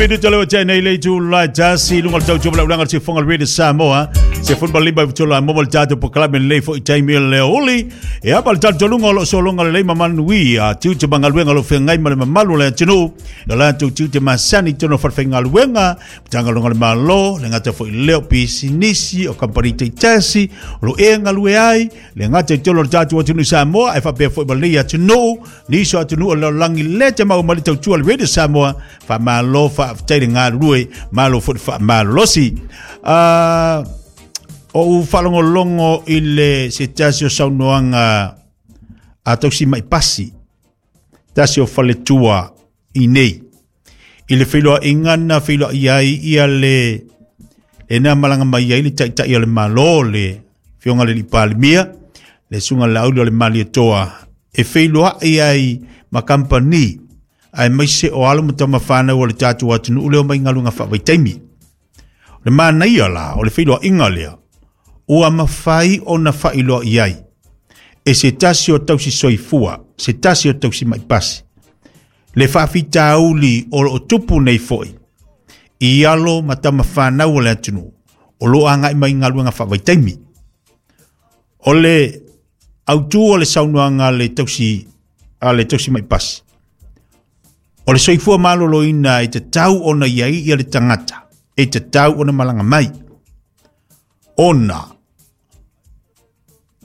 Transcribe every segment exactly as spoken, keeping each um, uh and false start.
Pito le tene le tu la tasi lunga tau tu la se fonga le Samoa se fun bali ba tola mo tato po club le fo time le oli e apa tato lunga lo so lunga le mamanui a tu te bangaluenga lo fengai ma mamalu le tinu la tu tu te masani tono fa fenga luenga tanga lunga le malo le ngata fo le pisinisi o company te tasi lo enga lue ai le ngata tolo tato tinu Samoa e fa pe fo bali a tinu ni so tinu lo langi le te mau mali tau tu le Samoa fa malo fa te ngā rue malo fo fa malosi a o falongolongo i le se tasi o saunoanga a tausi mai pasi tasi o faletua i nei i le whiloa ingana whiloa iai ia le e nā malanga mai ai le taitai o le malo le whionga le lipalimia le sunga lauli o le mali e toa e whiloa iai ma kampani ai mai se o alo matama whanau o le tātou atunu leo mai ngalunga whawaitaimi. O le manaia la, o le whiloa inga lea, ua mawhai o na whailoa iai. E se tasi o tausi soifua, se tasi o tausi maipasi. Le whawhitauli o lo tupu nei foi, i alo matama whanau o le atunu, o lo angai mai ngaluanga whawaitaimi. O le autu o le saunoanga le tausi, a le tausi maipasi. O le soifua malolo ina e te tau ona iai ia le tangata, e te tau ona malanga mai. Ona,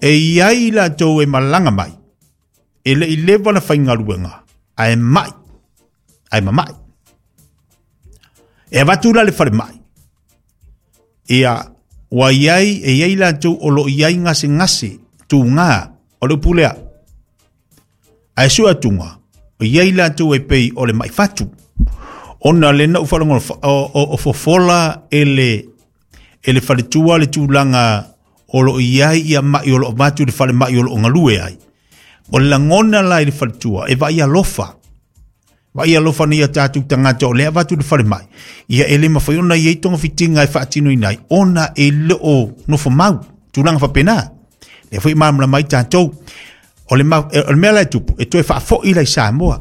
e iai la tau e malanga mai, e le i lewa na whaingaluenga, a e mai, a e mamai. E avatu la le whare mai. Ia, wa iai, e iai la tau o lo iai ngase ngase, tū ngā, o le upulea. A e sua tunga, o iai la tau e pei o le mai fatu. Ona le na uwharongo o fofola e le e le whaletua le tūlanga o lo iai ia mai o lo vatu le whale mai o lo ngalue ai. O le langona la i le whaletua e vai alofa. Vai alofa ni ia tātou tangata o lea vatu le whale mai. Ia e le mawhai ona iei tonga whitinga e whaatino inai. Ona e le o nofo mau tūlanga whapena. Le whai maamla mai tātou. O le, ma, o le mea lai tupu, e toe whaafo i lai Samoa.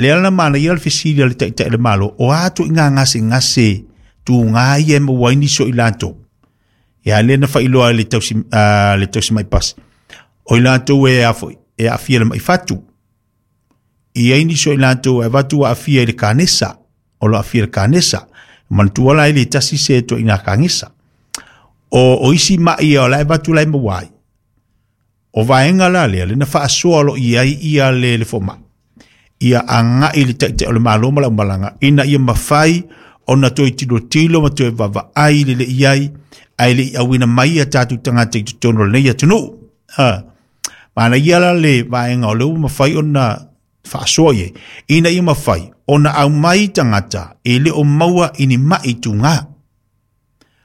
Le alana mana ia le fisili le taitai le malo, o atu i ngā ngase ngase, tū ngā ia mo waini so i lātou. Ia le na whailoa le tausi, uh, le tausi mai pasi. O i lātou e afo, e afia le mai fatu. I aini so i lātou e watu a afia i le kanesa. O lo afia le kanesa. Mantua lai le tasi se to i ngā kanesa. O, o isi mai o lai watu lai mawai. O vaenga la lea, le na whaasoa lo iai ia le le foma. Ia anga i le taitai o le malo ma la umalanga. Ina ia mawhai o na toi tilo tilo ma toi wawa ai le le iai. Ai le i awina mai ia tātou tangata i tutono le nei atunu. Ha. Mana ia la le vaenga o le u mawhai o na whaasoa ie. Ina ia mawhai o na au mai tangata e le o maua ini mai tūngā.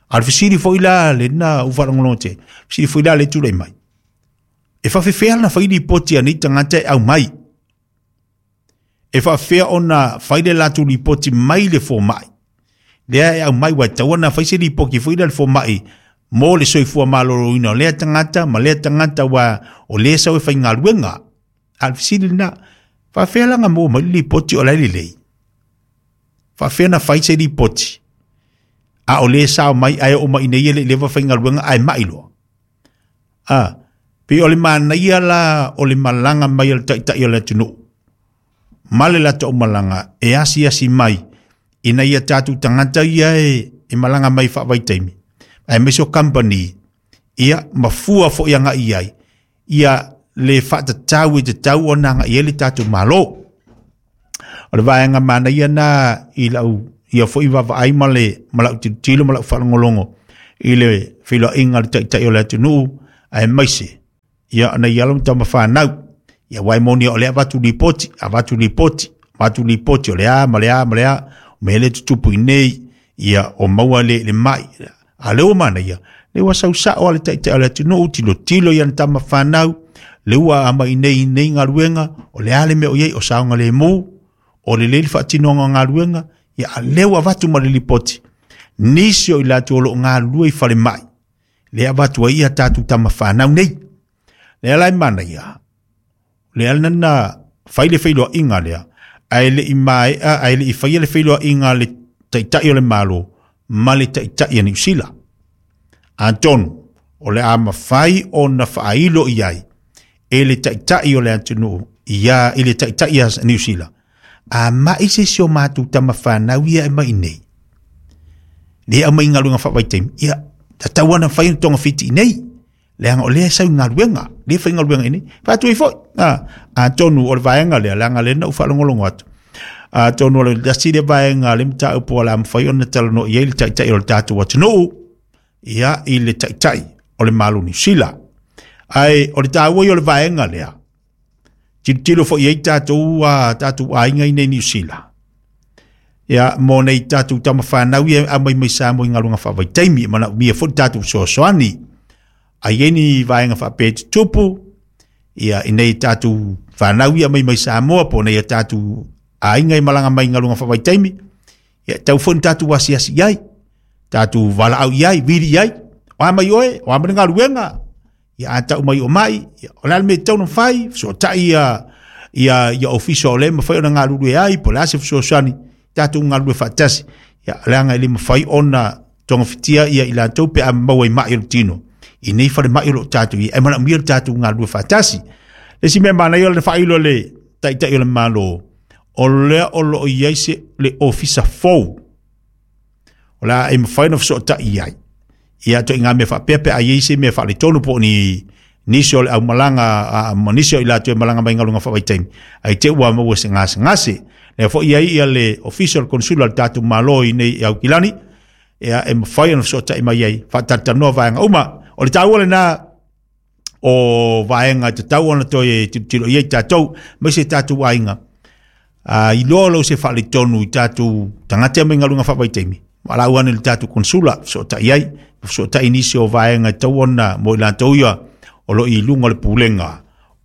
A le fisiri foi la le na uwharangolote. Fisiri foi la le tūrei mai. E whawhewhea na whairi poti a nei tangata e au mai. E whawhea ona whaire lātou ripoti mai le fōmai. Lea e au mai wai taua na whaise ripoki whaire le fōmai mō le soifua malolo ina o lea tangata ma lea tangata wa o lea sau e whaingaluenga. A le fisiri na whawhea langa mō mai le ripoti o lai lelei. Whawhea na whaise ripoti. A o lea sao mai ai o mai nei le lewa whaingaluenga ai mai loa. A Pe o le manaia la o le malanga mai o le taitai o le atunu. Male la tau malanga e asi asi mai ina ia tātou tangata ia e, e malanga mai whawaitaimi. Ai meso company ia mafua fo ia ngā iai. Ia le whaatatau e te tau o nā ngā ia le tātou malo. O le vaenga manaia nā i lau ia fo i wawa ai ma le malau tilo malau whalongolongo i le whiloa inga le taitai o le atunu ai maise. Ia na ia lo tama whanau. Ia waimoni o le avatu ripoti, avatu ripoti, avatu ripoti o le a, ma le a, ma le a, me le tutupu i nei, ia o maua le, le mai. A leo mana ia, le ua sausa o le taitai o le atunu, tilo tilo ia na tama whanau, le ua ama i nei, nei ngaluenga, o le a le mea o iei, o saonga le mō, o le lele whaatinoanga ngaluenga, ia a leo avatu ma le ripoti. Nisi o i lātou o lo ngalua i whare mai, le avatu ai ia tātou tama whanau nei. Le alai mana ia, le alana whaile whailoa inga lea, Ae le i maea, ae le i faia le feiloaiga a le Taitai o le Malo ma le Taitai a Niu Sila. Atonu o le a mafai ona faailo i ai e le Taitai o le atunuu ia i le Taitai a Niu Sila. A mai se si o mātou tamafanau ia e mai nei. Le au mai galuega faavaitaimi, ia tatau ona fai ona togafiti i nei. Leaga o lea e sau i galuega, lea e fai galuega i nei. Faatu ai foi, a, atonu o le vaega lea, leaga lea na ou faalogologo atu. Atonu o le tasi le vaega le mataupu o le a mafai ona talanoa i ai le Taitai o le tatou atunuu, ia i le Taitai o le Malo Niu Sila. Ae o le taua ia o le vaega lea, tilotilo foi i ai tatou, a, tatou aiga i nei Niu Sila. Ia, mo nei tatou tamafanau ia aumai mai Samoa i galuega faavaitaimi, e manaomia foi le tatou fesoasoani. Ai ai ni vaega faapea e tutupu, ia i nei tatou fanau ia aumai mai Samoa, po o nei a tatou aiga i malaga mai i galuega faavaitaimi, ia tau foi ni tatou asiasi i ai, tatou valaau i ai, vili i ai, o a mai oe, o a mai le galuega, ia a tau mai o mai, ia, o le a le mea e tatau ona fai, fesoatai ia, ia, ia ofisa o le mafai ona galulue ai, po o le a se fesoasoani, tatou galulue faatasi, ia leaga e le mafai ona togafitia ia i latou pe a maua i mai o le tino. I nei falemai o lo tatou i, e manaomia le tatou galulue faatasi. Le isi mea manaia o le faailo le Taitai o le Malo, o lea o lo o i ai se le ofisa fou. O le a e mafai ona fesootai i ai. Ia to i ngā mea faapea pe a i ai se mea faaletonu po o ni nisi o le aumalaga, a, ma nisi o i latou e malaga mai galuega faavaitaimi. Ai te ua maua se gasegase. Lea foi i ai ia le ofisa o le konsula o le tatou Malo i nei i Aukilani, ia e mafai ona fesootai mai ai, faatalatalanoa vaega uma. O le taua lena o vaega e tatau ona toe tilotilo i ai tatou, aemaise tatou aiga. A iloa lou se faaletonu i tatou tagata mai galuega faavaitaimi, valaau ane i le tatou konsula, fesootai ai, fesootai nisi o vaega e tatau ona mo i latou ia o lo o i luga o le pulega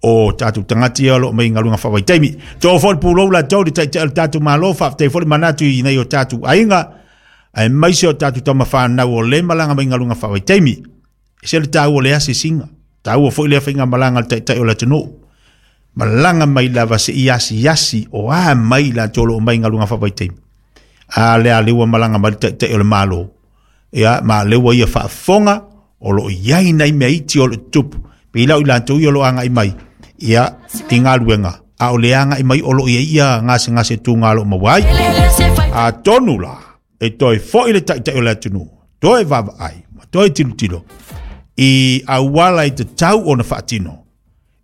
o tatou tagata ia o lo o mai galuega faavaitaimi. Too foi le pulou latou le Taitai o le tatou Malo, faafetai foi le manatu i nei o tatou aiga, aemaise o tatou tamafanau o le malaga mai galuega faavaitaimi. E se le taua o le asiasiga, taua foi lea faigamalaga a le Taitai o le atunuu. Malaga mai lava se i asiasi o a mai latou o lo o mai galuega faavaitaimi. A lea lea ua malaga mai le Taitai o le Malo, ia ma lea ua ia faafofoga o lo o i ai nai mea iti o lo o tutupu. Pe i lau i latou ia o lo o agai mai, ia i galuega, a o le agai mai o lo o i ai ia gasegase tuga o lo o maua ai. Atonu la, e toe foi le Taitai o le atunuu, toe vaavaai, ma toe tilotilo i auala i tatau ona faatino,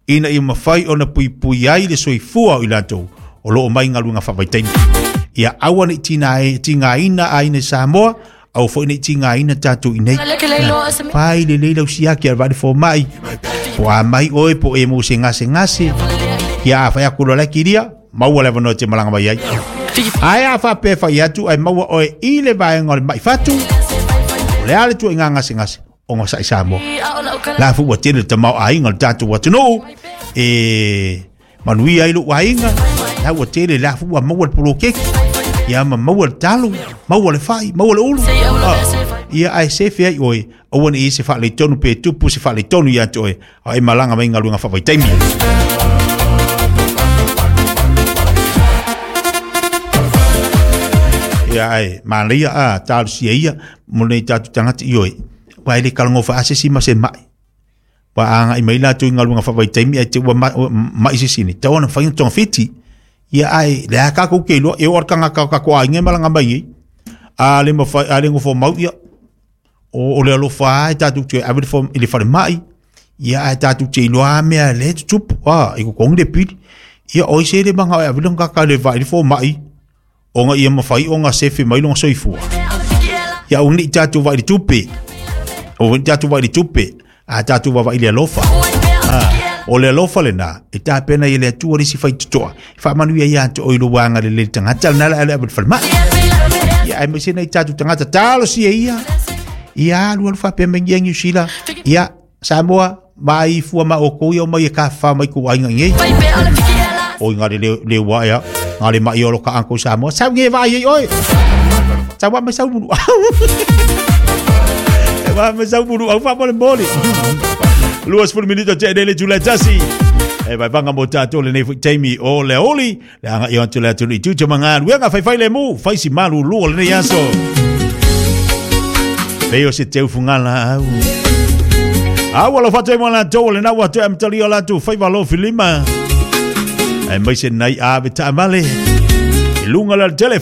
ina ia mafai ona puipui ai le soifua o i latou o lo o mai galuega faavaitaimi. Ia aua ne i tina- tigaina aiga i Samoa, aua foi ne i tigaina tatou i nei. Fai lelei lau siaki a le vaai fomai, po a mai oe po e mo se gasegase, ia a fai atu loa le kilia, maua le avanoa e te malaga mai ai. Ae a faapea fai atu ai maua oe i le vaega o le mai fatu, o le a le tuuaiga gasegase, ona sa i Samoa. La fu ua tele le tamao aiga o le tatou atunuu, e manuia ai lou aiga, la ua tele la fu ua maua le poloketi, ia ma maua le talo, maua le fai, maua le ulu. Ah, ia ae sefe ai oe, aua ne i se faaletonu pe tupu se faaletonu ia te oe, a e malaga mai galuega faavaitaimi. Ia ae manaia a talosia ia mo nei tatou tagata i oe. Ua e le kalagofa a se si ma se mai. Ua agai mai latou i galuega faavaitaimi ai te ua ma- ua mai se sini. Tau ona fai ona togafiti. Ia ae le a kākou ke iloa, e oo le tagata o tatou aiga e malaga mai ai. A le mafai, a le gofo mau ia, o, o le alofa lava e tatou te ave le fo- i le falemai. Ia ae tatou te iloa lava mea le tutupu, a, i totogi le pili. Ia oi se le manga o e ave le kaka le vai le fomai, ona ia mafai ona sefe mai lona soifua. Ia aua ne i tatou vai i le tupe, aua ne i tatou vai i le tupe, a tatou vaavaai i le alofa. Ah, o le alofa lena, e tapena i le Atua le isi faitotoa, e faamanuia ia te oe i lou agalelei le tagata lena le a le ave i le falemai. Ia aemaise nai tatou tagata talosia ia, ia alu alu faapea mai ia Niu Sila, ia Samoa, mai fua ma outou ia o mai e kafafa mai kou aiga i nei. Oi ngā le le, le ua ea, ngā le mai o lo ka anko Samoa, sau nge vai ai oe. Sau wa mai sau mulu au. Wa mai sau mulu au fa mo le moli. Luas sefulu minute te nei le July tasi. E vaevaga mo tatou lenei fo'i taimi o le aoauli le aga'i atu le atunuu i tiute ma galuega faifai lemu faisi malulu o lenei aso pei o se teufugalaau a ua alofa atu ai mo latou o lena ua toe amatalia o latou faiva alofilima ae maise nai ave taavale i luga o le alatele.